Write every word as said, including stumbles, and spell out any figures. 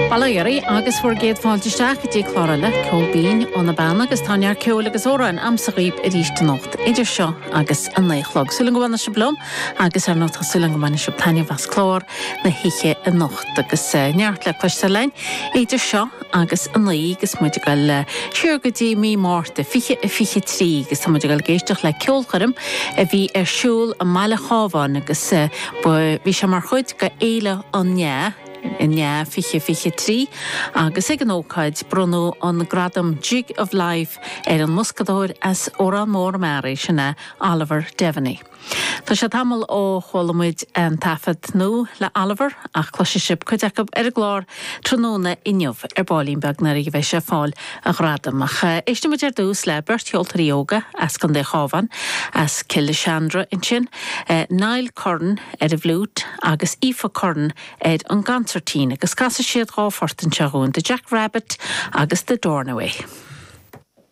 Bail ó Dhia oraibh agus bhur gcéad fáilte isteach go dtí clár eile Ceol Binn ó na Beanna agus tá neart ceoil agus amhráin a'msa dhaoibh arís anocht idir seo agus a naoi a chlog. Súil go bhfanfaidh sibh liom agus ar ndóigh tá súil go mbainfidh sibh taitneamh as clár na hoíche anocht agus eh, neart le cloisteáil againn idir seo agus a naoi agus muid ag dul siar go dtí mí Márta fiche a fiche trí agus tá muid ag dul ag éisteacht le ceolchoirm a bhí ar siúl i mBaile Chábháin agus eh, bhí sé mar chuid de Fhéile an NEA NEA fiche fiche trí agus ag an ócáid bronnadh an gradam Jig of Life ar an mboscadóir as Órán Mór Meáraí sin é Oliver Devaney. Tá sé tamall ó chuala muid an taifead nua le Oliver ach cloisfidh sibh cuid acu ar an gclár tráthnóna inniu ar baillín beag nuair a bheidh sé ag fáil a ghradam ach éistfidh muid ar dtús le beirt cheoltóirí óga as Contae an Chabháin as Cill Seandra ansin, eh, Niall Curran ar an bhfliúit agus Aoife Curran ar an gconsairtín agus casfaidh siad dhá phort anseo dhúinn, The Jack Rabbit agus The Dornaway.